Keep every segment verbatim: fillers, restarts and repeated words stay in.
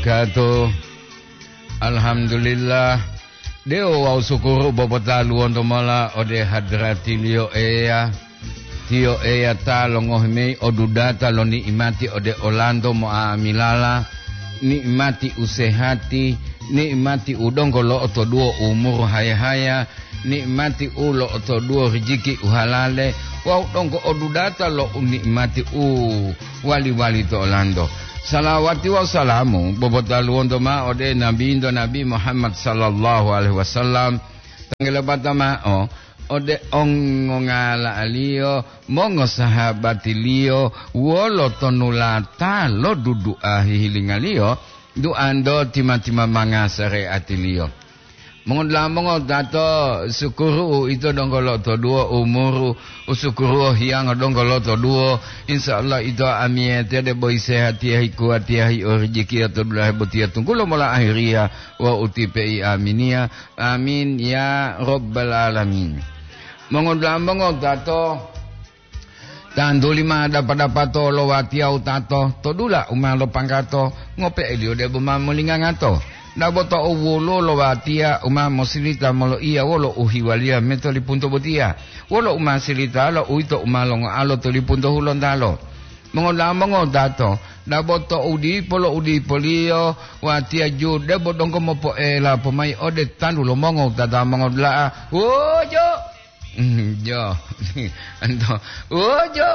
Kato, alhamdulillah, dewo wawu sukuru bobotaluwonto mola ode hadratiliyo Eya. Tiyo Eya ta longohi mayi odudata lo ni'imati ode olanto mo'amilala, ni'imati usehati, ni'imati u donggo lo'otoduwo umuru haya-haya, ni'imati u lo'otoduwo rijiki u halale, wawu donggo odudata lo u ni'imati u wali-wali to olanto. Salawati wawu salamu bobotaluwonto mao ode Nabinto Nabi Muhammad sallallahu alaihi wasallam, tanggele bata mao ode ongongala'aliyo, mongosahabatiliyo, wolo tonulata lo dudu'a hihilingaliyo, duanto tima-timamanga sareatiliyo. Mongodula'a mongotato, sukuru uito donggo lotoduwo umuru, usukuruwo hiyango donggo lotoduwo. Insya Allah ito amiyatiya debo isehatiya, hikuwatiya, hiorijikiya to dulahe botiya tunggulo mola ahiriya wawu utipe'i aminiya. Amin ya rabbal alamin. Mongodula'a mongotato, tantuli ma dapa-dapato lo watiya wutato to dula u ma lopanggato, ngope'eliyo debo ma molingangato. Dabo to uwulu lo watiya u ma mosilita moloiya wolo uhiwaliya metolipunto botiya, wolo u ma silitalo uwito u ma longoalo tolipunto hulontalo. Mongoda'a mongodato, dabo to udipo lo udipoliyo, watiya ju debo donggo mopo'ela pomayi ode tantu lo mongowutata mongodula'a, "Wuju!" Mm, jo. Anto, "Wuju!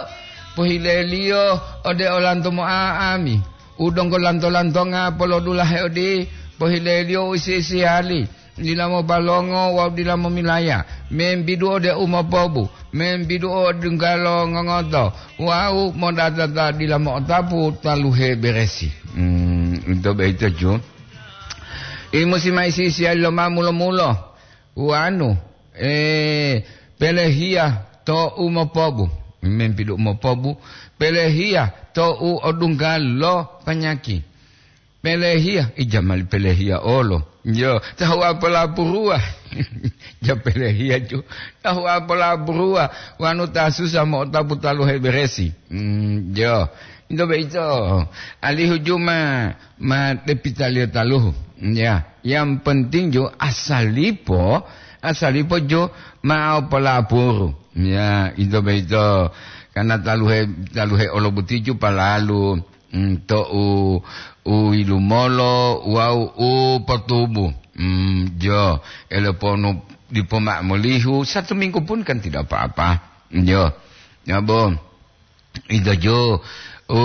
Pohileliyo ode olanto mo'a'ami, u donggo lanto-lantonga polodulahe odi, pohileliyo u isi-isihali." Dila mobalongo wawu dila momilaya, membidu ode u mopobu, membidu ode dunggalo ngongoto, wawu modata ta dila mo'otapu taluhe beresi. Hmm, ito boyito ju. Imusi ma isi-isiyali lo ma mulo-mulo, wanu, eh, pelehiya to u mopobu, membidu u mopobu, pelehiya to u odunggalo panyaki. Pelehiya, ija mali pelehiya olo. Yo, tahu apolapuruwa. Ja pelehiya ju. Tahu apolapuruwa. Wanu ta susa mo'otapu taluhe beresi. Hmm, yo. Into boyito. Alihu ju ma, ma depitaliyo taluhu. Ya, yang penting ju asalipo, asalipo ju ma apolapuru. Ya, into boyito. Karena taluhe, taluhe olo boti ju palalu. Mm, to u, u yilumolo wawu u potubu. Mm, jo, eleponu dipo mao molihu, satu minggu pun kan tidak apa-apa. Jo, ya, Bo. Ito jo, u,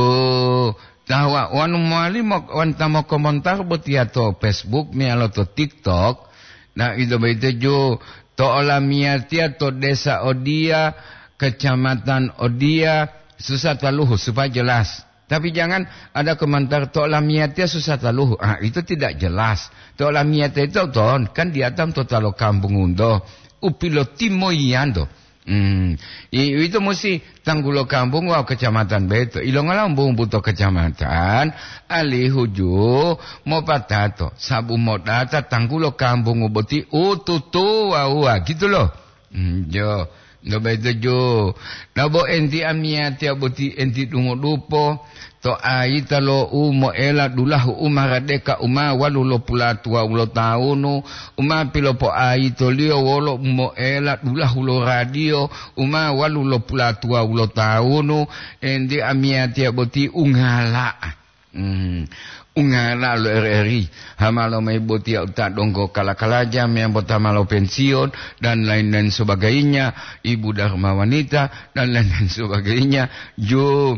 tahuwa, wanu mowali mo-, wanta mokomontar botiya to Facebook meyalo to TikTok. Nah, ito boyito jo, to olamiyatiya to desa odiya, kecamatan odiya, susah taluhu supaya jelas. Tapi jangan ada komentar to lamiyatiya susah taluhu. Ah, itu tidak jelas. To lamiyatiya itu ton, kan diatam to talo kampung unto. Upilotimo iyanto. Hmm. I, itu musi tanggulo kampung wawu kecamatan beto. Ilongola umbu-umbu to kecamatan, alihu ju mopatato. Sabu modata tanggulo kampung boti ututu wawuwa. Gitu loh. Hmm, jo, no boyito ju. Nabo enti amiyatiya boti enti dungodupo, to ayita lo u moela dulahu u maradeka u ma walu lo pulatuwawu lo tawunu, u ma pilopoayitoliyo wolo u moela dulahu lo radiyo u ma walu lo pulatuwawu lo tawunu, enti amiyatiya boti ungala'a. Hmm. Ungala lo R R I, hamalo mayi botiya uta donggo kala-kalaja meyambo ta ma lopensiyon, dan lain-lain sebagainya, ibu Dharma Wanita, dan lain-lain sebagainya, ju,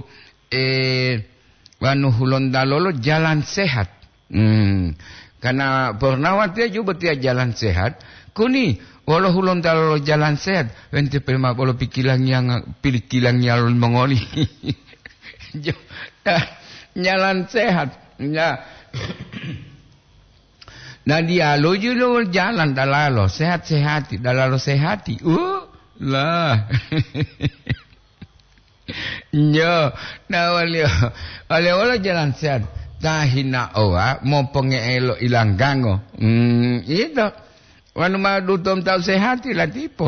eh, wanu hulontalo lo jalan sehat. Hmm. Karena purnawatiya ju botiya jalan sehat, kuni wolo hulontalo lo jalan sehat, wente pema bolo pikilangiya nga-, pikilangiya lo mongoli. Jo, nah, jalan sehat. Nah, nah, diyalu ju lo jalan dalalo, sehat-sehati, dalalo sehati. Uh, lah. Nyo, nah, waliyo, waliyo wolo jalan sehat. Tahina owa, moponge'elo ilanggango. Hmm, ito. Wanu ma dutom tau sehati latipo.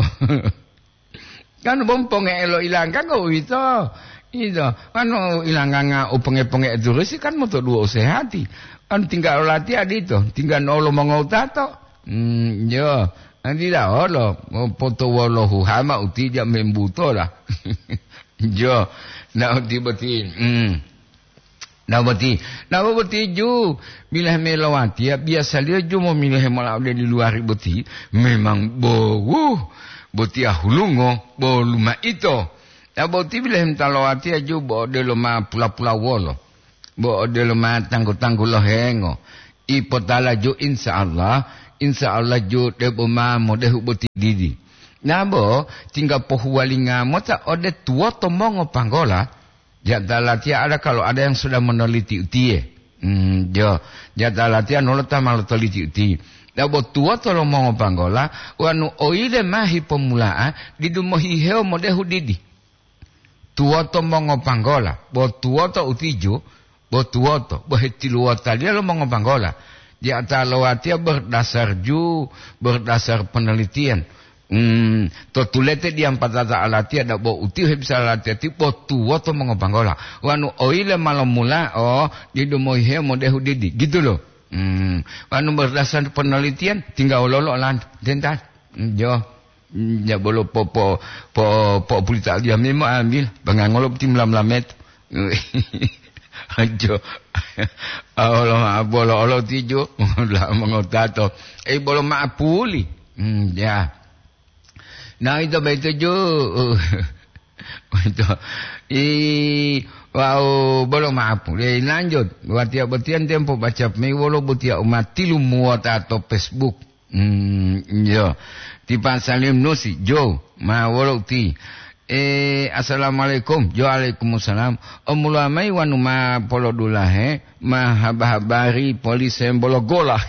Kan bom ponge'elo ilanggango uwito. Ito. Wanu ilanganga u ponge-ponge turusi kan motoduwo u sehati. An tingga olatiya dito, tingga nolo mongowutato. Hmm, yo, an dila olo, potowolo huhama utija membutola. Jo, na uti boti. Hmm. Na boti, na boti ju, bilahe melowatiya, biasaliyo ju momilohe mola ode di luwari boti, memang bowu, botiya hulungo, bo lumaito. Na boti bilahe mota lowatiya ju bo odelo ma pula-pula wolo. Bo odelo ma tanggu-tanggu lohengo. Ipotala ju, insya Allah, insya Allah ju debo ma modehu boti didi. Nabo tingga pohuwalinga mota ode tuwoto mongopanggola, jata latiya ada kalau ada yang sudah meneliti utiye. Hmm, jo, jata latiya nolo ta ma lotoliti uti. Nabo tuwoto lo mongopanggola, wanu oyile ma hipomula'a, didu mohihewo modehu didi. Tuwoto mongopanggola, bo tuwoto utijo, bo tuwoto, bo hetiluwotaliya lo mongopanggola. Di ata lowatiya berdasar ju, berdasar penelitian. Hmm, to tulete diyampatata alatiya dabo utiyo hebisa alatiya ti bo tuwoto mongopanggola. Wanu oyile ma lomula, o, didu mohihewo modehu didi. Gitu loh. Hmm, wanu berdasar penelitian, tingga wololo olanto. Denta. Hmm, jo. Hmm, ya bolo po, po, po, po pulita dia memo ambil. Bangangolo boti mula-mula meto. Jo. Olo ma bolo olo tijo. La mongotato. Eh, bolo ma puli. Hmm, ya. Nah, itu begitu ju. Itu. I, wau bolo ma puli. Eh, lanjut. Watiya botiyan tempo baca mi wolo botiya umatilu muwota to Facebook. Hmm, iya. Ti Pak Salim Nusi, Jo, ma wolo uti. Eh, assalamualaikum. Jo, waalaikumsalam. Omuluwa mayi wanu ma polodulahe, ma haba-habari polise bolo gola.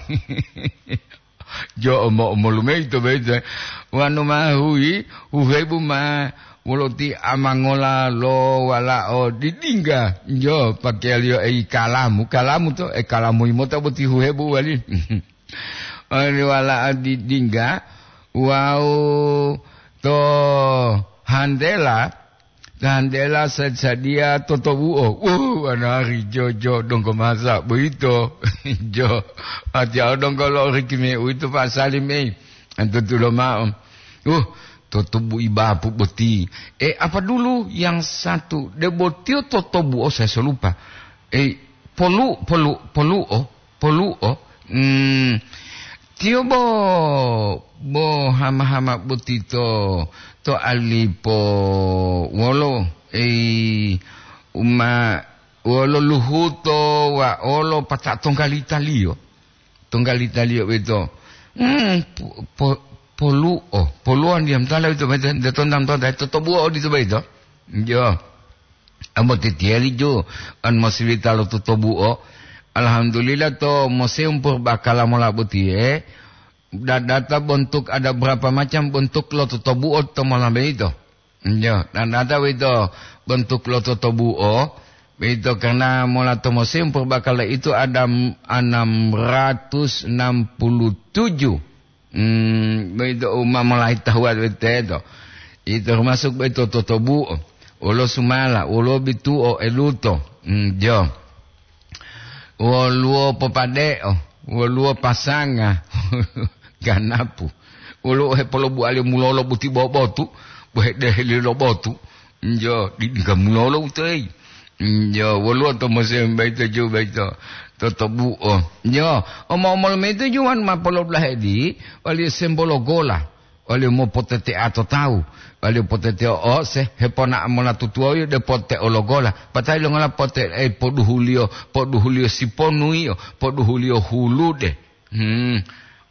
Jo, omo-omolu mayi to boyito. Wanu ma huyi, huhebu ma wolo ti amangola lo walao didingga. Jo, pakeyaliyo eyi kalamu. Kalamu to, e kalamu imota boti huhebu wali. Oli wala'a di-, dingga wawu to handela, to handela sa-, sadiya totobu'o. Wuh, anari jojo donggo masa boyito. Jo, atiya donggo lo rikime uwito Pak Salim, ei. Antutulo ma'o. Uh, totobu'i bapu boti. Eh, apa dulu yang satu? Debo tiyo totobu'o, saya so lupa. Eh, polu-, polu-, polu'o. Polu'o, mm, tiyo bo, bo hama-hama boti to, to alipo wolo, ei, uma, wolo luhuto wa olo pata tonggalita-Liyo. Tonggalita-Liyo boyito, mm, po-, po-, polu'o, polu'o ndiyam tala boyito, boyito, nde tontam tonta, totobu'o odito boyito. Jo. Ambo titiyali ju, an mosilita lo totobu'o. Alhamdulillah, to Museum Purbakala mola botiye, dadata bontuk ada berapa macam bentuk lo totobu'o to mola boyito. Yo, dadata boyito bentuk lo totobu'o, boyito karena mola to Museum Purbakala itu ada m-, enam ratus enam puluh tujuh. Hmm, boyito u ma molayi tahuwa teto. Ito termasuk boyito totobu'o, wolo sumala, wolo bitu'o, eluto. Hmm, jo. Woluwo popade'o, woluwo pasanga, ganapu. Woluwo hepolobuwaliyo mulolo buti bobotu, bo hedeheli lo botu. Njo, di-, diga mulolo utoyi. Njo, woluwo to Museum boyito ju boyito, totobu'o. Njo, omo-omolu mayi to ju wanu ma polodulahe di, waliyo sembolo gola, waliyo mopotete'a to tawu, waliyo potete'o ose, hepona mola tutuwawiyo de pote'o lo gola, patayi longola pote-, eh, poduhuliyo, poduhuliyo siponuyiyo, poduhuliyo hulude. Hmm.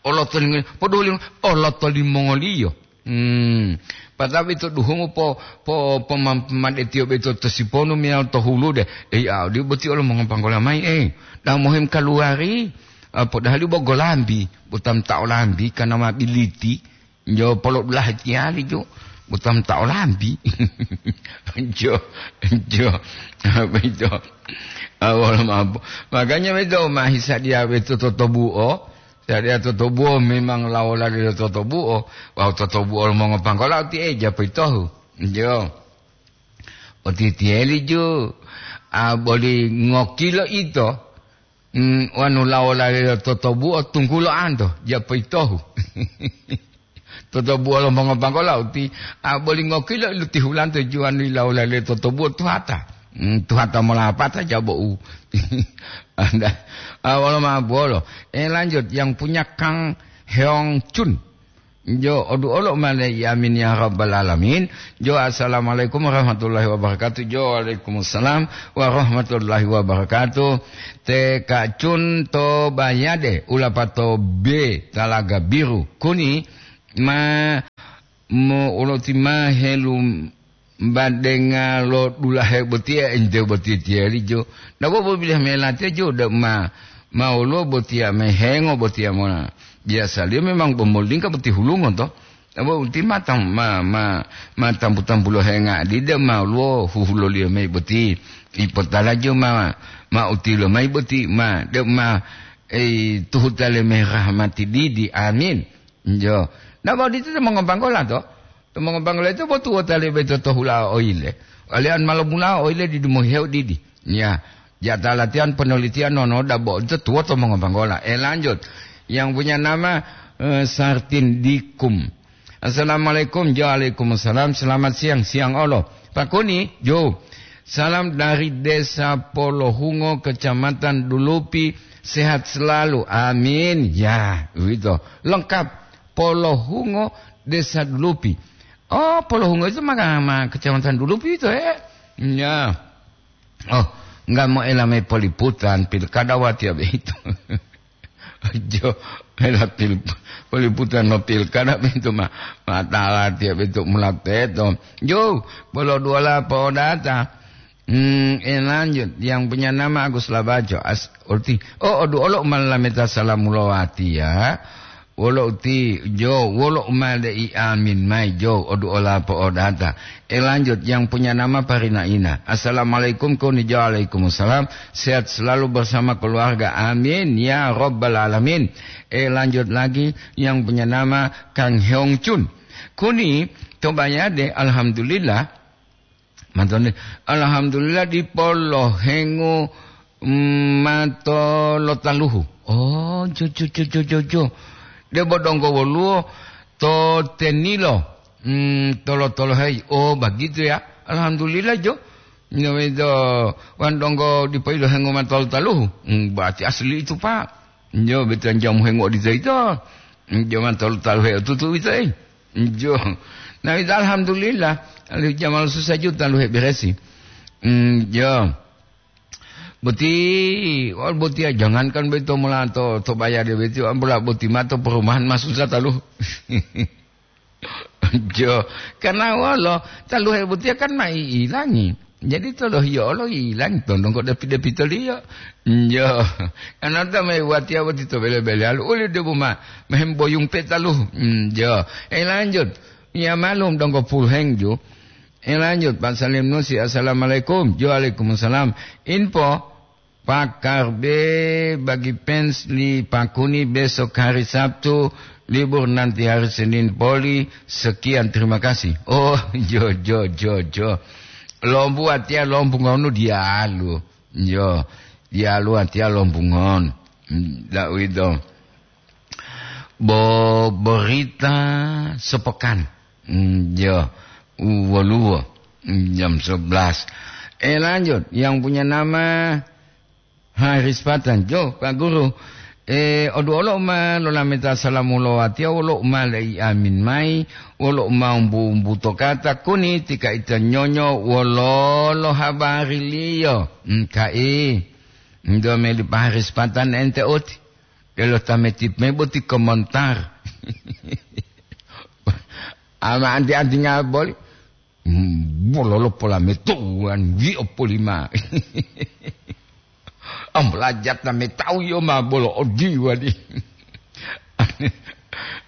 Oloto limongoliyo, poduhuliyo, oloto limongoliyo. Hmm. Patabi to duhumu po, po, pomam-, pomadetiyo boyito to siponu meyalo to hulude. Ei, a, odi boti olo mongopanggola mayi, ei. Dau mohim kaluwari, a, podahali bo golambi, botam ta olambi, kana ma biliti. Jo polo dulahe tiyali jo, botam ta olambi. Jo, jo. Apa itu? Awal mampu. Makanya beto ma hisadiya beto totobu'o. Sadiya totobu'o memang lawola dila totobu'o, wawu totobu'o lo mongopanggola uti eja poyitohu. Jo. Otitiyeli ju, a, boli ngokilo ito, mm, wanu lawo-lawolaliyo totobuo tunggulo anto, japoyitohu. Totobuo lo mongobanggola uti, a, boli ngokilo ilutihulanto juwanu ilawo-lawolaliyo totobuo tuhata. Mm, tuhata molapata jabo'u. Anda, a, wolo ma'o buwolo. Eh, lanjut, yang punya Kang Heong Chun. Jo, odu olo male, amin ya rabbal alamin. Jo, assalamualaikum warahmatullahi wabarakatuh. Jo, waalaikumsalam warahmatullahi wabarakatuh. Te kacun to bayade, ulapato be talaga biru. Kuni ma mo uloti ma helu badenga lo dulahe botiya ente boti tiyali jo. Nabo bobilah melatiya jo, de ma, ma woluwo botiya mehengo botiya mona. Biasaliyo memang bomolingka boti hulungo to. Nabo uti ma tam-, ma, ma, ma tampu-tampu lo henga di de ma woluwo huhuloliyo mayi boti. Ipotala jo ma, ma utilo mayi boti ma, de ma, eh, tuhutale merah mati didi. Amin. Jo. Nabo odito to mongobanggola to. To mongobanggola ito botuwota lebe to tohula oile. Walian malo mula oile di dumohihewo didi. Ya. Jata latihan penelitian nono dabo ito tuwoto mongobanggola. Eh, lanjut. Yang punya nama, eh, Sartin Dikum. Assalamualaikum. Jo, waalaikumsalam. Selamat siang. Siang olo. Pak Kuni, jo. Salam dari Desa Polohungo, Kecamatan Dulupi. Sehat selalu. Amin. Ya, begitu. Lengkap. Polohungo, Desa Dulupi. Oh, Polohungo itu mah, mah Kecamatan Dulupi itu, eh. Ya. Oh, enggak mau elame poliputan, pilkada watiya begitu. Jo, ela pil-, poliputan lo pilkada begitu mah, matala tiap itu mulateto. Jo, bolo duola podata. Hmm, eh, lanjut. Yang punya nama Agus Labaco. As-, ulti. Oh, odu olo malameta salamu lowati ya. Wolo uti, jo, wolo umade i amin mai, jo, odu ola po'odata. Eh, lanjut, yang punya nama Parina Ina. Assalamualaikum, koni jo, waalaikumsalam. Sehat selalu bersama keluarga. Amin, ya rabbal alamin. Eh, lanjut lagi, yang punya nama Kang Heong Chun. Kuni, to bayade, alhamdulillah. Mantone, alhamdulillah dipo lohengu, mm, mato lotaluhu. Oh, jo, jo, jo, jo, jo, jo. Debo donggo woluwo to tenilo, mm, tolo-toloheyi. Oh, begitu ya. Alhamdulillah, jo. Nyowedo wan donggo dipo ilohengu mato lotaluhu. Mm, berarti asli itu, Pak. Jo, betulan jamu hengu odito ito. Mm, jo, mato lotaluhe otutu ito, eh. Jo. Nah, itu alhamdulillah. Alihu jamal susah juta luhe beresi. Mm, jo. Boti, wal boti ya, jangankan beto mula to, to bayar dia beto, ambola boti mato perumahan masuk satalu. Jo, karena walo, taluhe boti kan mai ilangi. Jadi tolo hiyo olo ilangi tondong kok depi-depi toliyo. Jo, karena ta mai watiya boti to bele-bele alu, uli debu ma, mehem boyung petalu. Mm, jo, eh, lanjut. Ya malum donggo pulheng ju. Eh, lanjut, Pak Salim Nusi, assalamualaikum. Jo, waalaikumsalam. Info, Pakar B bagi fans li Pakuni besok hari Sabtu, libur nanti hari Senin poli. Sekian, terima kasih. Oh, jo, jo, jo, jo. Lombu atia lombu ngonu dialu. Jo, dialu atia lombu ngon. Ndak uwito. Bo-, berita sepekan. Mm, ya, u-, woluwo, mm, jam sebelas. Eh, lanjut, yang punya nama Haris Patan. Jo, Pak Guru. Eh, odu olo ma lolameta salamu lo watiya, wolo ma lei amin mai, wolo ma umbu-umbu to kata kuni tika ita nyonyo wolo lo habari liyo. Mm, kai. Ndo meli Pak Haris Patan ente oti. Delo tameti me boti komentar. Ama anti-anti ngaboli. Hmm, bololo pola metuan, wi opolima. Am belajar na metau yo ma bolo odiwa di.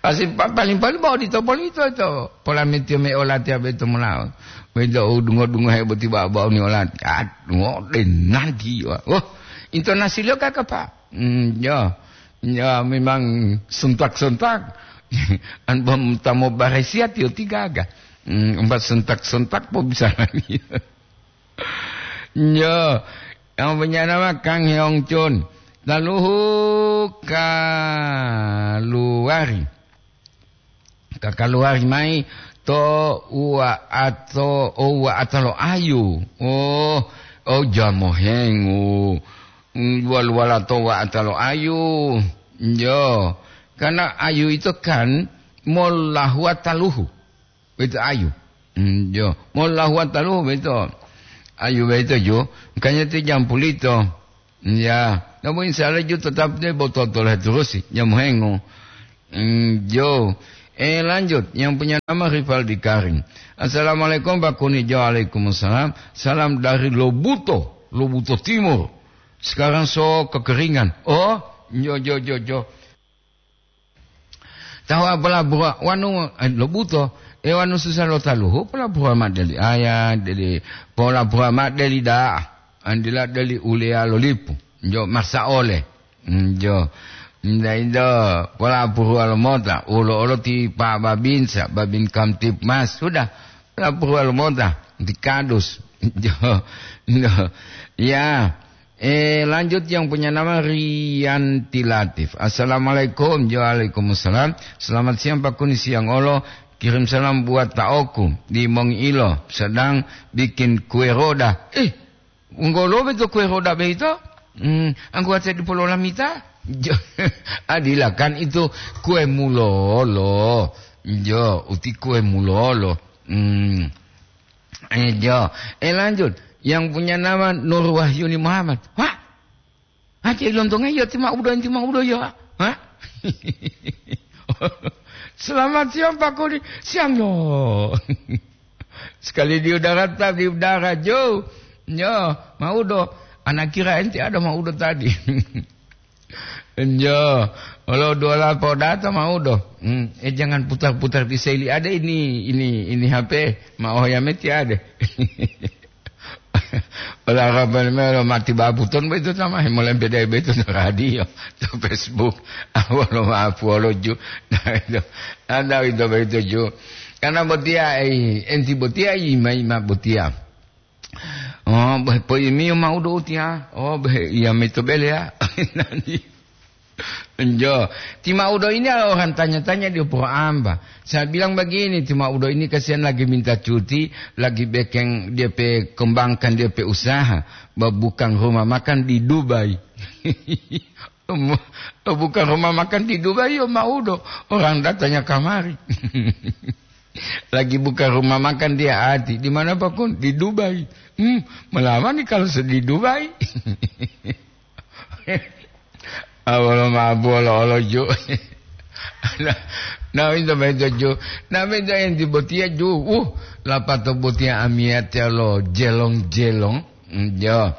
Asi pa-, paling-paling mau dito polito to. Pola metio me olati abe to mulao. Wedo dungo-dungo hebo tiba bau ni olati. Aduh, de nanti wa. Oh, intonasi lo kaka, Pak. Hmm, ya. Ya, memang sentak-sentak. An bom tamo baresiat yo tigaga. Hmm, empat sentak-sentak po bisa lagi. Ya, yang punya nama Kang Heong Chun. Laluhu kaluwari, kakaluwari mayi to uwa'ato, o uwa'ata lo ayu. Oh, oh, jamohengu. Mm, wal-wala to uwa'ata lo ayu. Yo, karena ayu itu kan molahuwa taluhu. Boyito ayu. Mm, jo. Molahuwa taluhu boyito. Ayu boyito jo. Makanya ti jampulito. Ya. Namun insya Allah jo tetap dia botol-toleh terus sih. Jamohengu. Mm, jo. Eh, lanjut. Yang punya nama Rivaldi Karim. "Assalamualaikum, Pak Kuni." Jo, waalaikumsalam. "Salam dari Lobuto, Lobuto Timur. Sekarang so kekeringan." Oh, jo, jo, jo, jo. Tahu'a polabura wanu, eh, Lobuto, eh, wanu susa lo taluhu, polabura ma'o deli aya, deli, polabura ma'o deli da'a, andila deli uleya lo lipu, jo marsa ole. Mm, jo. Nda indo, polabura lo mota, ulo olo ti Pa Babinsa, Babin Kamtibmas, sudah, polabura lo mota, ti Kadus. Jo. No. Ya. Eh, lanjut yang punya nama Rianti Latif. "Assalamualaikum." Jo, waalaikumsalam. "Selamat siang, Pak Kuni, siang olo. Kirim salam buat taoku di Mongiilo, sedang bikin kue roda." Eh, wonggolo beto kue roda beito? Hmm, anggota di Pulau Lamita? Jo, adilakan itu kue mulolo. Jo, uti kue mulolo. Hmm. Eh, jo. Eh, lanjut. Yang punya nama Nur Wahyuni Muhammad. Wah, aja ilontonge ya, ti maudo, ti maudo ya. Hah? Selamat siang, Pak Kuni. Siang, yo. Sekali di udara, tetap di udara, Jo. Yo, maudo. Anak kira enti ada maudo tadi. Enjo, olo duola podata maudo. Hmm, eh, jangan putar-putar di seli. Ada ini, ini, ini H P. Ma oh ya meti ada. Ola kapan melo mati babuton begitu sama, molempe dari begitu to radio, to Facebook. Awalo maapu olo ju. Nah, itu. Anda itu begitu ju. Karena botia, eh, enti botia, ima, ima botia. Oh, beh, po imiyo maudo utiya. Oh, beh, iya mito bele ya. Nanti. Enjo, ti maudo ini orang tanya-tanya dia po amba. Saya bilang begini, ti maudo ini kasihan lagi minta cuti, lagi bekeng dia pe kembangkan dia pe usaha, ba-, bukan rumah makan di Dubai. Bukan rumah makan di Dubai, yo maudo. Orang datanya kamari. Lagi buka rumah makan dia ati. Di mana, Pak Kun? Di Dubai. Hmm, melama nih kalau se-, di Dubai. Awalo ma'o bolo olo ju. Nah, nah, minto, minto ju. Nah, minto enti botiya ju. Uh, lapato botiya amiyatiya lo jelong-jelong. Hmm, jo.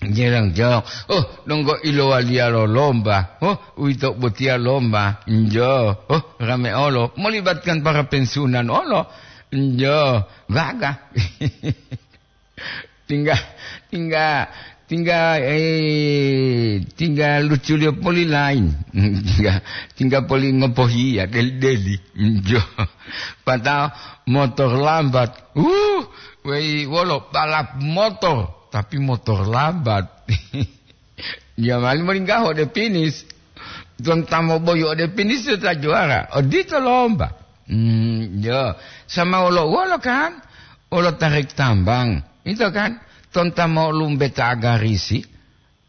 Jerang-jerang. Oh, donggo ilowaliya lo lomba. Oh, uwito botiya lomba. Njo. Oh, rame olo. Melibatkan para pensiunan olo. Njo. Gagah. Tingga, tingga, tingga, eh, tingga luculiyo poli lain. Tingga, tingga poli ngopohiya, deli-deli. Njo. Patao motor lambat. Uh, wei, wolo balap motor. Tapi motor lambat. Dia mali molinggaho ode finish. Tuwang ta moboyu ode finish ta juara. Odito lomba. Hmm, yo. Sama wolo-wolo kan? Wolo tarik tambang. Itu kan? Tonta mo lumbe ta agarisi.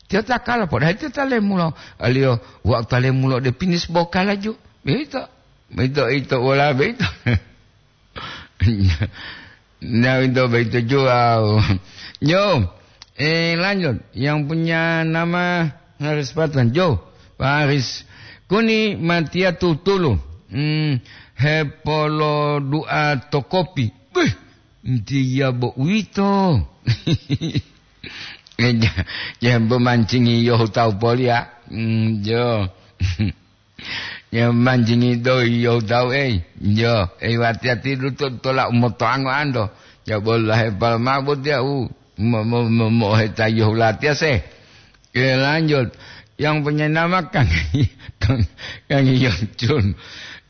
Tiyo ta kala podaha tiyo ta lemulo. Aliyo wa'u ta lemulo ode finish bo kalaju. Beito. Beito, ito, wala beito. Nah, itu begitu juga. Yo, eh, lanjut. Yang punya nama Haris Patan. Jo, Pak Haris. Kuni matiya tutulu. Hmm, hepolo dua to kopi. Bih, ntiya bo uwito. Eh, ja-, ja bo mancingi yo tawu poli ya. Hmm, jo. Ya, manjingi doyi yo tawu, ei. Yo, ei, wati-wati duto tola umotoango ando. Ya, bolahe palma botiya u mo-, mo-, mo-, moheta yo latiya se. Oke, lanjut. Yang punya nama Kang, Kang, Kang Yocun.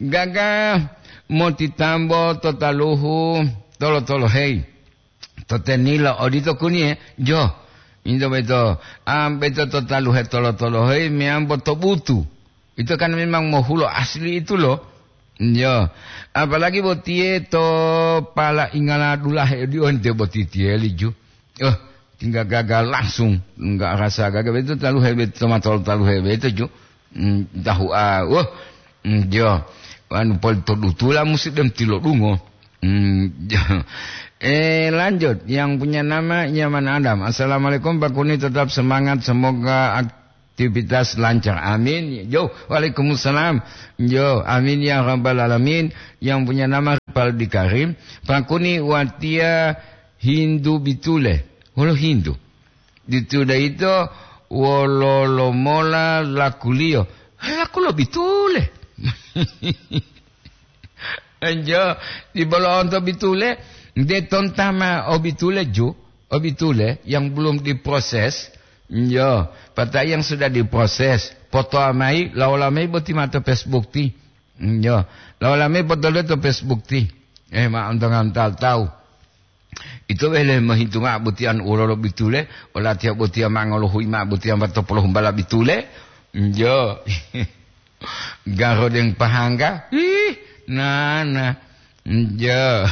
Gaga motitambo to taluhu tolo-tolo, hei. To tenilo odito kuniye, jo. Ito boyito, ah, boyito to taluhe tolo-tolohe meyambo to butu. Ito kan memang mohulo asli itu lo. Yo, apalagi botiye to pala ingala dulahe di onte boti tiyeli ju. Oh, tinggal gagal langsung, nggak rasa gagal. Itu taluhe boyito, to matolo taluhe boyito ju. Hmm, tahu, ah, wah, hmm, jo. Anu pol to dutula musi dem tilodungo. Hmm, jo. Eh, lanjut. Yang punya nama Nyaman Adam. "Assalamualaikum, Pak Kuni, tetap semangat. Semoga aktivitas lancar. Amin." Jo, waalaikumsalam. Jo, amin ya rabbal alamin. Yang punya nama Rivaldi Karim. "Pak Kuni, watiya Hindu bitule." Wolo Hindu. Ditu daito wololo mola lakuliyo? Laku lo bitule. Enjo, di bolo onto bitule, de tontama o bitule ju, o bitule yang belum diproses. Enjo, pata yang sudah diproses, foto amai, laola mai boti mata Facebook ti. Enjo, laola mai foto to Facebook ti. Eh, ma ontongan tahu-tahu. Ito wele mohintu mao botiya wololo bitule, olatiya botiya ma ngolohuyi mao botiya ma topolo humbala bitule. Njo. Garodeng pahangga. Ih, nana. Njo.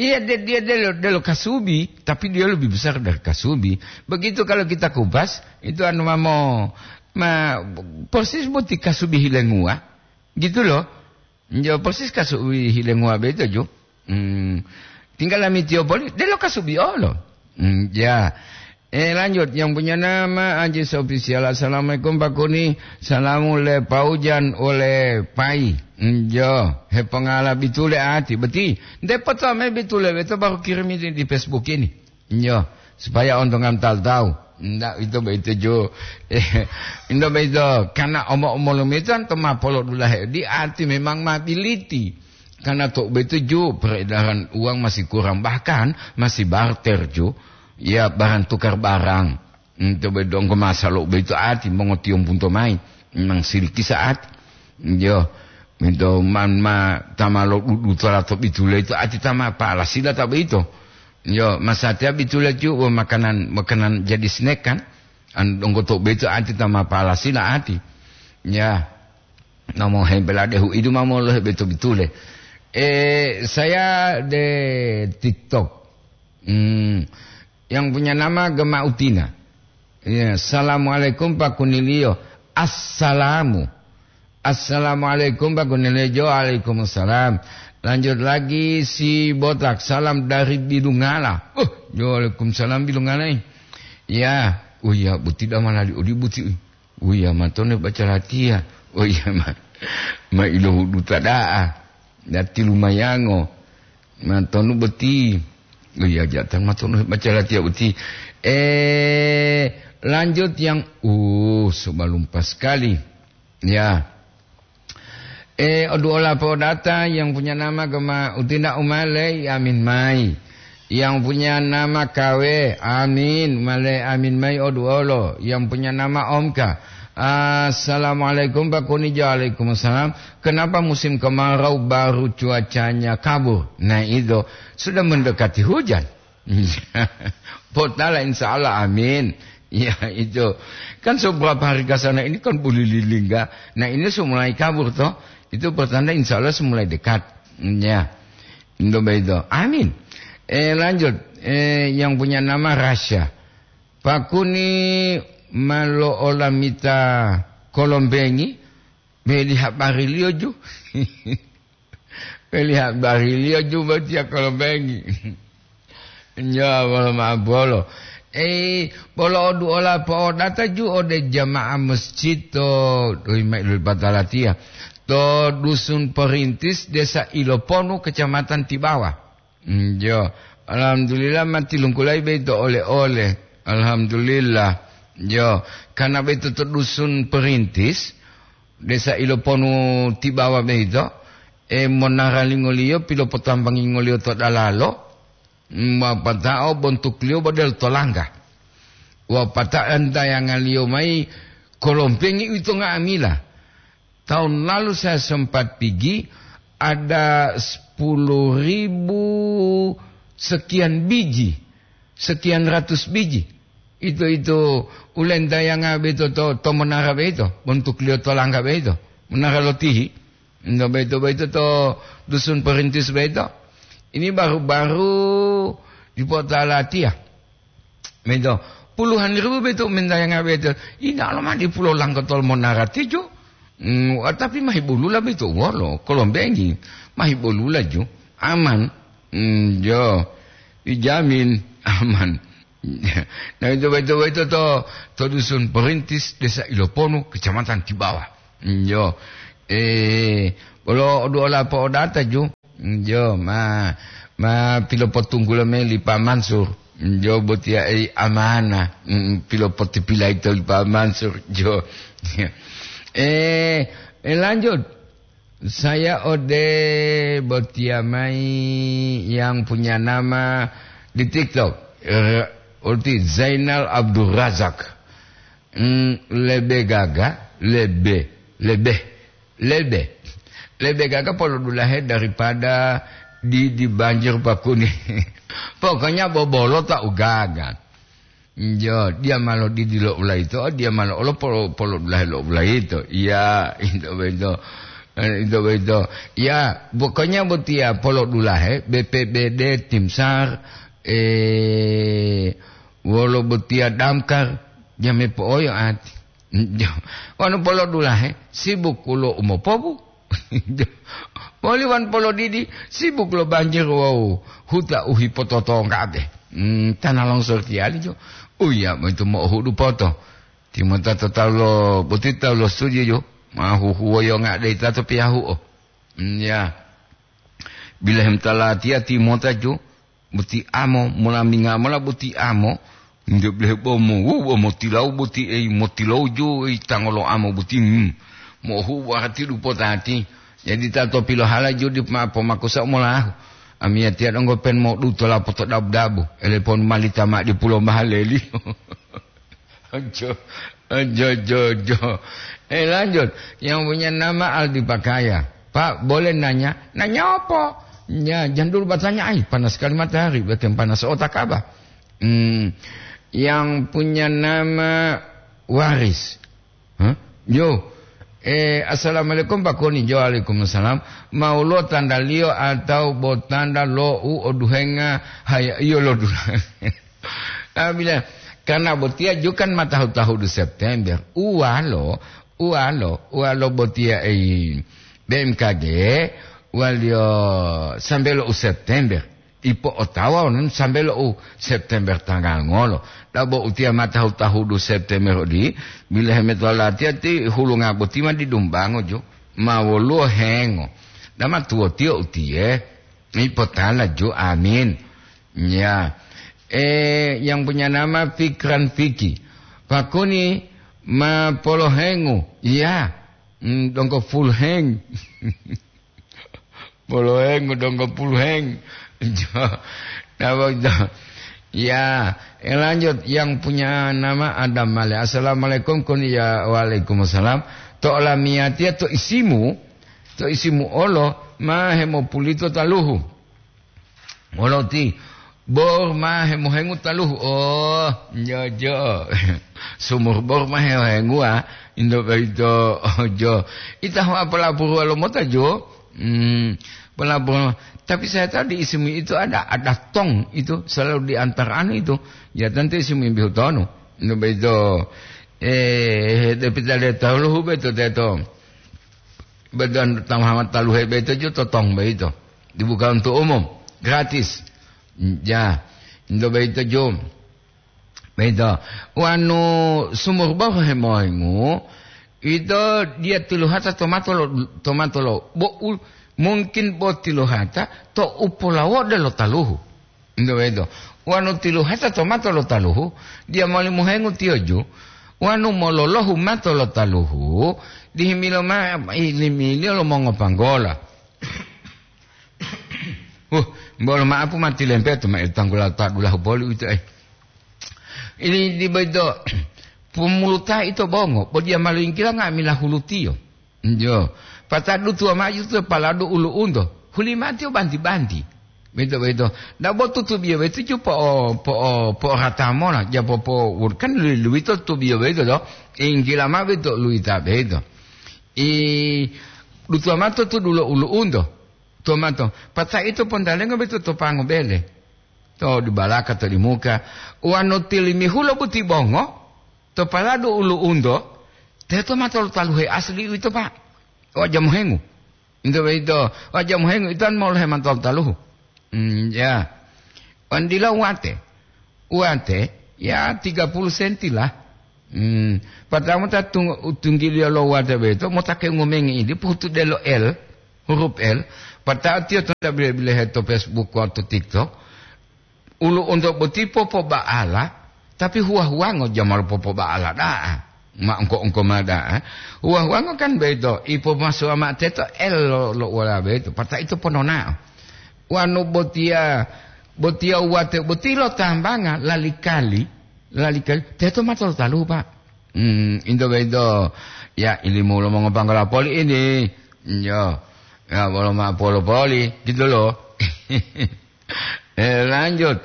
Iya, de-, dia delo, delo kasubi, tapi dia lebih besar dari kasubi. Begitu kalau kita kupas, itu anu mamo, ma, persis boti kasubi hilenguwa. Gitu loh. Njo persis kasubi hilenguwa boyito ju. Hmm. Tinggal lamitiyo poli, delo kasubi olo. Hmm, ya. Eh, lanjut, yang punya nama Ajis Official. "Assalamualaikum, Pak Kuni. Salamu le Paujan ole Pai." Njo, hepongala bitule ati, beti. Nde foto me bitule, beto baru kirim ini di Facebook ini. Nyo, supaya ontongan talu-talu. Ndak ito boyito jo. Eh, ito boyito, karena omo-omolu mito anto ma polodulahe di ati memang ma biliti. Karena to boyito jo, peredaran uang masih kurang, bahkan masih barter jo. Ya, barang tukar barang. Ito boyito donggo masa lo boyito ati mongotiyombu nto mai. Memang siliki sa'ati. Yo, ito man ma tama lo dudu tola to bitule ito ati tama pala sila ta boyito. Yo, masatiya bitule ju wo makanan, makanan jadi snack kan? An donggo to boyito ati tama pala sila ati. Ya. Namo hembela dehu idu mamo lo beto bitule. Eh, saya de TikTok. Hmm, yang punya nama Gema Utina. Ya, "Assalamualaikum, Pak Kunilio." Assalamu. "Assalamualaikum, Pak Kunilio." Jo, "Waalaikumsalam." Lanjut lagi si botak, "Salam dari Bilungala." Oh, jo, "Waalaikumsalam, Bilungala, eh." Ya, oh iya, buti damalali odi buti. Uya matone baca latiya. Oh iya, ma, ma ilohuduta da'a. Dati lumayango. Matonu boti. Oh iya, jatan matonu baca latiya boti. Eh, lanjut yang, uh, sebelum pas sekali. Ya. Eh, oduola podata yang punya nama Gema Utina Umale, amin mai. Yang punya nama Kawe, amin, male amin mai oduolo. Yang punya nama Omka. "Assalamualaikum, Pak Kuni." Jo, "Waalaikumsalam." "Kenapa musim kemarau baru cuacanya kabur?" Nah, itu sudah mendekati hujan. Potala, insya Allah, amin. Ya, itu. Kan seberapa hari ke sana ini kan boleh lilingga. Nah, ini semulai kabur, toh. Itu pertanda, insya Allah, semulai dekat. Ya. Indo begitu. Amin. Eh, lanjut. Eh, yang punya nama Rasya. "Pak Kuni malo olamita kolombengi, beli habari liyo ju." Beli habari liyo ju botiya kolombengi. Nyo, bolo ma'o bolo. Eh, bolo oduola po'odata ju ode jamaah masjid to, doyi mayi loli patalatiya. To Dusun Perintis, Desa Iloponu, Kecamatan Tibawa. Njo, alhamdulillah, ma tilungkulayi boyito ole-ole. Alhamdulillah. Njo, karena boyito to Dusun Perintis, Desa Iloponu Tibawa boyito, e, monaralingoliyo pilopotambangingoliyo to dalalo, mapatao bontukliyo bo delo tolangga. Wapata'o entayangaliyo mayi kolompengi uwito nga'amila. Tahun lalu saya sempat pigi, ada sepuluh ribu sekian biji. sekian ratus biji. Itu, itu ulentayanga beito to, to monara beito, bontukliyo to langga beito, monara lotihi. Ento beito, beito to Dusun Perintis beito. Ini baru-baru dipota latiya. Beito, puluhan ribu beito mentayanga beito. Ina lo ma dipulo langkotol monara tijo. Hmm, wa-, tapi mahibolula beito wolo, kolombengi. Mahibolula ju, aman. Hmm, jo, dijamin aman. Nah, itu beito, beito to, to Dusun Perintis, Desa Iloponu, Kecamatan Tibawa. Hmm, jo. Eh, bolo odu ola po'odata ju. Jo, ma, ma pilopotunggulo mayi li Pa Mansur. Jo, botiya ei amana. Mm, pilopotipilayi to li Pa Mansur. Jo. Eh, eh, lanjut. Saya ode botiya mayi yang punya nama di TikTok. Eh, Ulti Zainal Abdul Razak. Mm, lebe gaga, lebe, lebe. Lebe, lebe gaga polodulahe daripada di, di banjir pakuni. Pokoknya bobolo ta ugaga. Jo, dia malo didi lo ulaito, dia malo olo polo, polodulahe lo ulaito. Iya, itu beto. Eh, itu beto. Ya, pokoknya botia polodulahe, B P B D, Tim SAR, eh, wolo botia Damkar, jame po'oyo ati. Jo, wanu polodulahe, sibuk ulo umopobu. Moli wan polodidi, sibuk lo banjir wawu huta u hipototonggabe. Hmm, tana longsor tiyali jo. Uya, moitu mo'ohudu poto. Timota to talu lo boti talu lo suji jo. Ma huhuwoyo nga'de itato piyahu'o. Hmm, ya. Bilahem talatiya timota jo. Boti amo, molaminga mola boti amo, nde blehe bomo, wu, bomo tilau boti ei, motilau jo ei tangolo amo boti, hmm. Mohu warati dupotati. Jadi tato pilohala jo di ma pomakusa molahu. Amiyatiya donggo pen modu tola poto dabu-dabu. Elepon malita ma di pulo mahaleli. Ojo, ojo, ojo, ojo. Eh, lanjut. Yang punya nama Aldi Pakaya. Pak, boleh nanya? Nanya apa? Ya, jangan dulu bertanya. Ay, panas sekali matahari. Bikin panas otak apa? Hmm, yang punya nama Waris. Hah? Yo. Eh, assalamualaikum, Pak Koni. Jo, waalaikumsalam. Mau lo tanda liyo atau bo tanda lo u oduhenga haya iyo lo dula. Apabila karena botiya jukan matahu-tahudu September, uwalo, uwalo, uwalo botiya ei B M K G, waliyo sambe lo u September, ipo otawa wonu sambe lo u September tanggal ngolo. Dabo utiya matahu-tahudu September odi, bila hemeto latiya ti hulunga boti ma didumbango jo, ma woluwo hengo. Dama tuwotiyo utiye. Ipotala ju, amin. Ya. Eh, yang punya nama Fikran Fiki. Pakuni ma polohengu. Ya. Hmm, dongko full heng. Polohengu dongko full heng. Jo. Napa itu? Ya, eh, lanjut yang punya nama Adam Male. Assalamualaikum, kun ya waalaikumsalam. To olamiyatiya to isimu, to isimu olo ma hemopulito taluhu. Moloti, bor ma hemohengu taluhu. Oh, jojo. Sumur bor ma hemohengu, ah. Indo boyito, ojo. Ita ho apala buruwa lo mota jo? Hmm, apala buruwa. Tapi saya tahu di isimu itu ada, ada tong itu selalu diantar anu itu. Ya, tentu isimu imbihu tonu. Indo boyito, eh, tapi tidak tahu lo hube to teto. Beton tamahamat taluhe boyito ju totong boyito. Dibuka untuk umum, gratis. Ja, ento boyito ju. Boyito. Wanu sumur bohu hemohengu, ito dia tiluhata tomato lo, tomato lo. Bo u-, mungkin bo tiluhata to upolawode lo taluhu. Ento boyito. Wanu tiluhata to mato lo taluhu, diya moli mohengu tiyo ju, wanu mololohu mato lo taluhu, dihimilo mao ilimiliyo lo mongopanggola. Huh, bolo ma'apu ma tilempeto ma tanggula ta dulahu boli uwito, eh. Ini di boyito, pumuluta ito bongo, bo diya ma loyingkila nga'amila hulutiyo. Jo. Patadu tuwa maju to paladu ulu'unto, hulimatiyo banti-banti. Boyito, boyito. Dabo tutubiyo boyito ju po'o-, po'o-, po'orata mola, ja popo-, kan lu-, luwito tutubiyo boyito to. Inggila mao boyito luwita boyito. I dutuwa mao to tudulo ulu'unto. Tuwa mao to. Pata ito pontalengo boyito to pango bele. To di balaka, to di muka. Wanu tilimihulo boti bongo, to paladu ulu'unto, teto mao tolu taluhe asli uwito, Pak. Waja mohengu. Ito boyito, waja mohengu, ito an molohe mao tolu taluhu. Hmm, ya. Wan dila wate. Wate, ya tiga puluh senti lah. Hmm. Pertama ta tung-, tunggiliyo lo wate boyito, mota ke ngomengi idi, pohutu delo L, huruf L. Pertama tiyo to bile-bilehe to Facebook wawu to TikTok. Ulu'unto boti popoba'ala, tapi huwa-huwango jamalo popoba'ala da'a. Ma engko-engko ma da'a. Huwa-huwango kan boyito, ipomasuwa mao teto L lo, lo wala boyito, pata ito pononao. Wanu botiya, botiya wate boti lo tambanga lalikali, lalikali, teto mao tolu taluhu, Pak. Hmm, into boyito, ya ilimu lo mongopanggola poli ini. Yo, ya bolo mao polo poli, gitu loh. Eh, lanjut.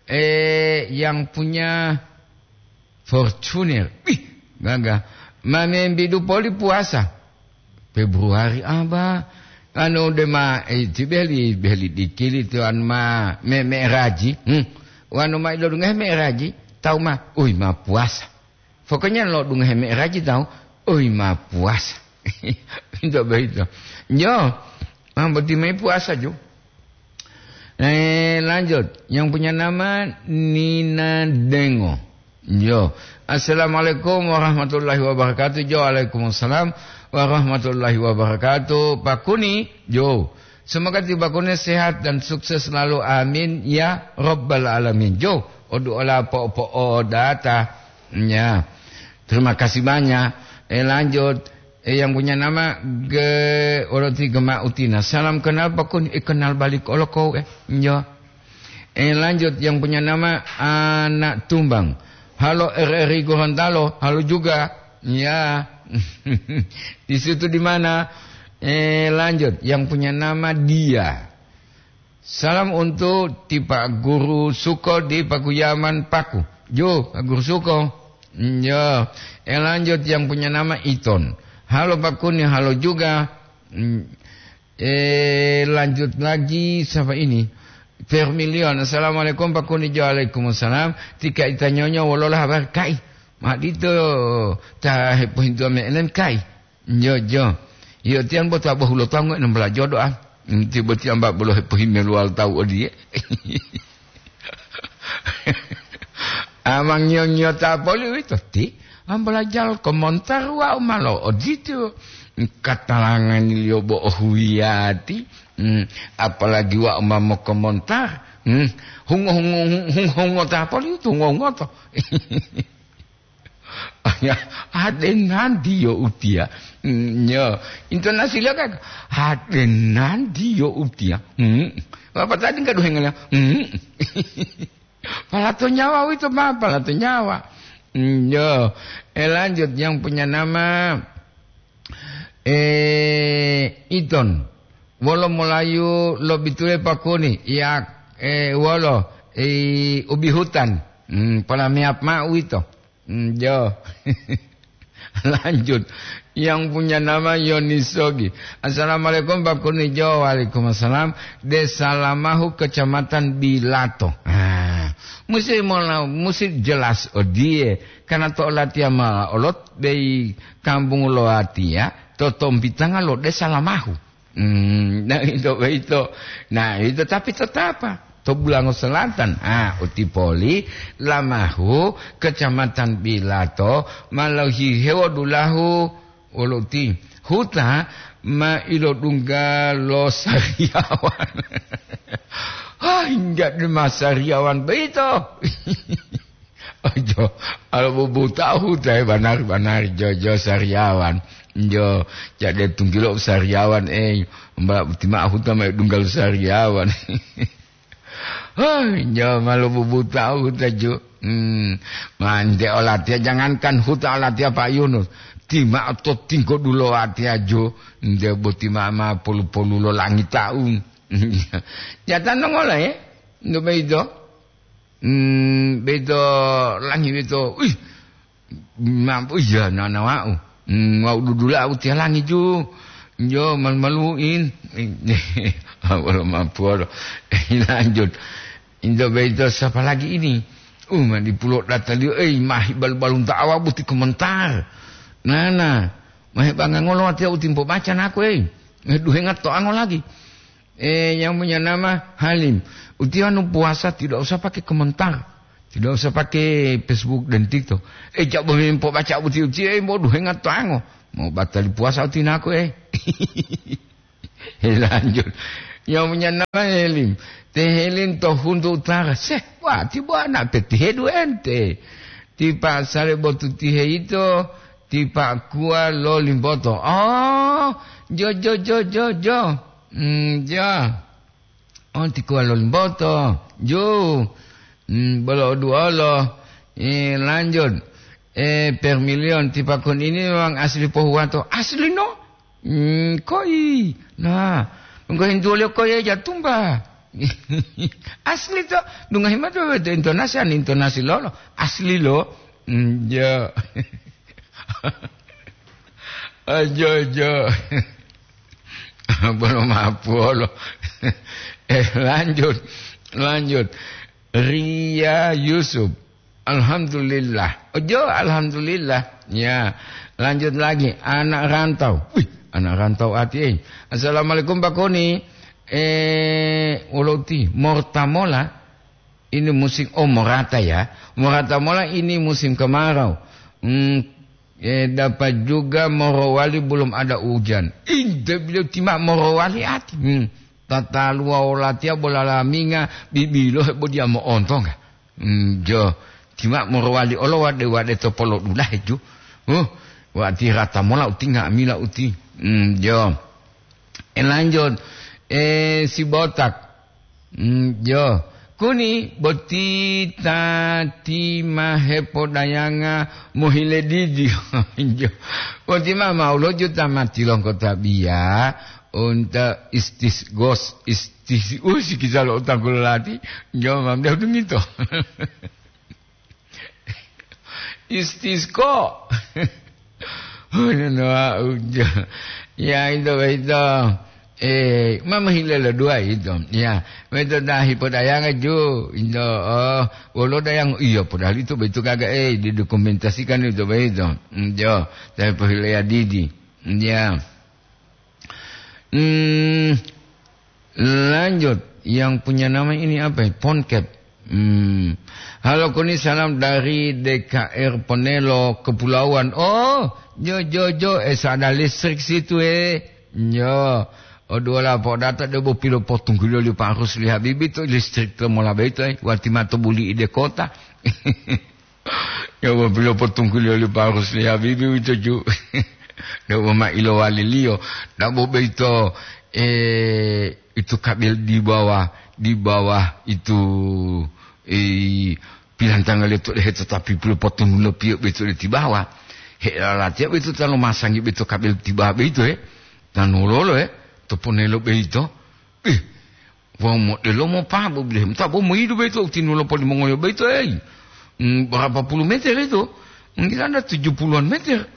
Eh, yang punya Fortuner. Wih, gagah. Ma membidu poli puasa. Februari aba. Anu dema, eh, ti beli, beli dikili tu anu ma me, me raji. Hmm. Wanu ma ilo dungahe me raji, tawu ma, ui ma puasa. Pokoknya lo dungahe me raji tawu, ui ma puasa. Itu begitu. Yo, mambo ti mai puasa ju. Eh, lanjut. Yang punya nama Nina Dengo. Yo. Assalamualaikum warahmatullahi wabarakatuh. Jo, waalaikumsalam warahmatullahi wabarakatuh. Pak Kuni, jo. Semoga ti Pak Kuni sehat dan sukses selalu. Amin ya rabbal alamin. Jo, odu ola po-, po-, o data. Ya. Terima kasih banyak. Eh, lanjut. Eh, yang punya nama Ge-, Oroti Gema Utina. Salam kenal Pak Kuni, eh, kenal balik olo kau, eh. Yo. Eh, lanjut, yang punya nama Anak Tumbang. Halo R R I Gorontalo, halo juga. Ya. Di situ di mana? Eh, lanjut, yang punya nama Dia. Salam untuk ti Pak Guru Suko di Pakuyaman Paku. Jo, Pak Guru Suko. Yo, eh, lanjut, yang punya nama Iton. Halo Pak Kuni, halo juga. Hmm, eh, lanjut lagi, siapa ini? Vermilion. Assalamualaikum Pak Kuni. Waalaikumsalam. Tika itanyonyo wolola habar kai? Madito ta hepohintuwa me'elen kai. Jo, jo. Yo, tiang bo ta bohulo tawu ngo'e nombala jodoa. Tibo tiang ba bolo hepohimeluwal tawu odiye. Amang nyo-, nyota poli uwito ti, ambala jal komontar wa'u malo odito. Katalangani liyo bo ohuyati. Hmm, apalagi wa'u ma mokomontar. Hmm, hungo-hungo, hungo-hungo ta poli utu, hungo-hungo to. Ya, adenanti yo utiya. Hmm, yo, intonasi liyo kan, adenanti yo utiya. Hmm. Apa tadi nggak duhengelnya? Hmm. Palato nyawa wito, ma, palato nyawa. Hmm, yo, eh, lanjut, yang punya nama, eh, Iton. Wolo molayu lo bitule Pak Kuni, ya, eh, wolo, eh, ubi hutan. Hmm, pala meap ma'u wito. Hmm, jo. Lanjut. Yang punya nama Yoni Sogi. Assalamualaikum, Pak Kuni. Jo, waalaikumsalam. Desa Lamahu, Kecamatan Bilato. Ah, musi mola-, musi jelas odiye. Karena to latiya ma olot bei kampung lo atiya, to tompitanga lo Desa Lamahu. Hmm, nah, ito boyito. Nah, ito tapi tetapa to Bulango Selatan. Ah, uti poli Lamahu, Kecamatan Bilato, ma lohihewo dulahu wolo uti. Huta ma ilodungga lo sariyawan. Ah, hingga dema sariyawan boyito. Ojo, alo bubuta huta e banari-banari jojo sariyawan. Jo, jade tunggilo sariyawan, eh, mbala buti ma'o huta ma dunggal sariyawan. Hoi, jo, malo bubuta huta ju. Hmm, mante olatiya, jangankan huta olatiya Pak Yunus. Tima to tinggo dulo atiya ju. Nde boti ma, ma polu-polu lo langit taun. Jatano ngola, eh? Nto beito. Hmm, beito langi beito. Wih, mampu iya nana wau. Hmm, wau dudula au tialangi ju. Jo, malu-maluin. Wala mampu wala. Lanjut. Indo beito sapa lagi ini? Uh, mani pulo data liyo, eh, mahi balu-balunta awa buti komentar. Nana, mahe banga ngolo watiya utimpo baca nako, eh. Eh, duhenga to ango lagi. Eh, yang punya nama Halim. Uti anu puasa tidak usah pakai komentar. Tidak usah pakai Facebook dan TikTok. Eh, coba memang baca uti-uti, eh, mau duhenga to ango. Mau batali puasa uti nako, eh. Lanjut. Yang punya nama Helim. Te Helim to Huntu Utara. Seh, wati bo anak petihe duente. Tipa sale botu tihe ito, tipa kuwa lo limboto. Oh, jo, jo, jo, jo, jo. Hmm, jo. Oh, ti kuwa lo limboto. Jo. Hmm, bolo duolo. Eh, lanjut. Eh, per milion tipa kon ini memang asli pohuwato. Asli no? Hmm, koi. Nah, ngohintuwoliyo koi eja tumba. Asli to. Dungohi mao to weto intonasi, an intonasi lolo. Asli lo. Hmm, jo. Ajo, jo. Bolo mapuolo. Eh, lanjut. Lanjut. Ria Yusuf. Alhamdulillah. Ojo, alhamdulillah. Ya, lanjut lagi. Anak rantau. Wih, anak rantau ati, eh. Assalamualaikum, Pak Koni. Eh, wolo uti, morta mola. Ini musim, oh, morata ya. Morata mola ini musim kemarau. Hmm, eh, dapat juga Morowali belum ada hujan. Inte beliau tima Morowali ati. Hmm. Tataluwa wolatiya bola laminga, bibilo hebo diya mo'ontonga. Hmm, jo. Tima morowali olo wade-wade to polodulahe ju. Huh, wati rata mola uti nga'amila uti. Hmm, jo. E lanjut. E, si botak. Hmm, jo. Kuni boti tati ma hepodayanga mohile didi. Jo. Boti ma maulo juta mati longko tabiya. Unta istisgos, istis-, uh, sikisa lo utangku lolati, njo mam deh dungito. Istisqo. Oh, no, no, ah, ujo. Ya, ito, ito. Eh, mama hile lo dua ito. Ya, ito dahi podayanga ju, ito, oh, wolo dayang, iya, padahal itu begitu kagak, eh, didokumentasikan itu begitu. Njo, tapi pohile ya didi. Ya. Hmm, lanjut. Yang punya nama ini apa ya? Ponket. Hmm. Halo Kuni, salam dari D K R Ponelo Kepulauan. Oh, jo, jo, jo. Eh, ada listrik situ, eh. Yo. Oduola podata debo pilo potunggulo li Pak Rusli Habibi to listrik to mola beto, eh. Wati mato buli ide kota. Ya, wapilo potungguliyo li Pak Rusli Habibi uwito ju. Debo ma ilowaliliyo. Dabo boyito, eh, itu kabel di bawah, di bawah itu, eh, pilantangaliyo to dehe, tetapi pilo potungguliyo piyo boyito de ti bawah. He lalatiya boyito ta lomasangi boyito kabel ti bawah boyito, he. Tanuwolo, he. To ponelo boyito. Ih, Wawu modelo mopabu bile, ta bo moyidu boyito u tinulo polimongoliyo boyito, eyi. Hmm, berapa puluh meter itu? Mungkin ada tujuh puluhan meter.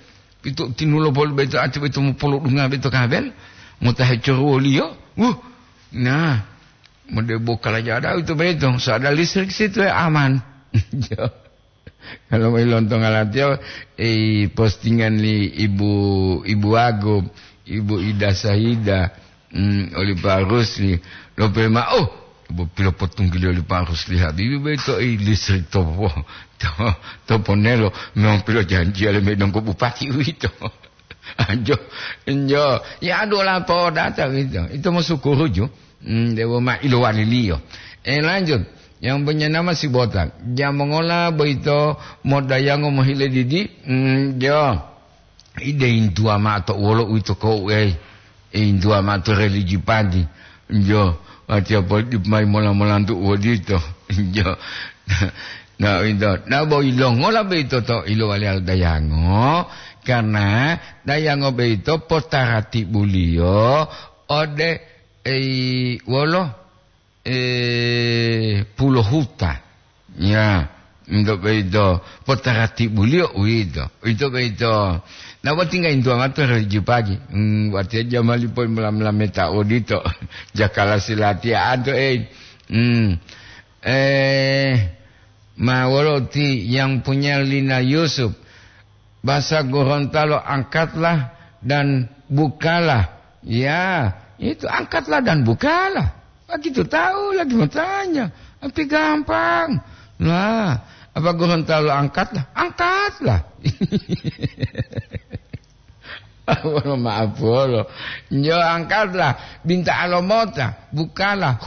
Itu tinulo poli boyito, ati boyito mopolodunga boyito kabel, mota hecoruwoliyo. Wuh, nah, modebo kalaja ada itu boyito, so ada listrik situ ya aman. Kalau mau lontonga latiya, eh, postingan li Ibu, Ibu Agung, Ibu Ida Sahida, hmm, oli Pak Rusli, lope ma-, oh, Ibu pilopotungguliyo oli Pak Rusli Habibi boyito, eh, listrik topo, to, toponelo, memang pilojanjiya le medongko bupati uwito. Anjo, enjo, ya adu lapo data uwito. Ito mosukuru ju. Hmm, dewo ma ilowaliliyo. Eh, lanjut. Yang punya nama si botak. Jamongola boyito modayango mohile didi? Hmm, jo. Ide intuwa ma'o to wolo uwito ko uwei. Intuwa ma'o to religi padi. Jo. Watiya poli dipo mayi mola-molantu uwodito. Jo. Na uwito. Na bo ilongola boyito to ilowali ala dayango? Karena dayango boyito potaratibuliyo ode ei, wolo, eh, pulohuta. Ya, ito boyito potaratibuliyo uwito. Ito boyito. Na wati ngaintuwa mato rejupagi. Hmm, wati aja mali poi mula-mula meta odito. Jakala silatiya anto, eh. Hmm. Eh, ma wolo ti yang punya lina Yusuf. Bahasa Gorontalo, angkatlah dan bukalah. Ya, itu angkatlah dan bukalah. Begitu tahu lagi mau tanya. Tapi gampang. Nah, apa Gorontalo angkatlah? Angkatlah. Maaf, bolo. Yo, angkatlah. Binta alomota. Bukalah.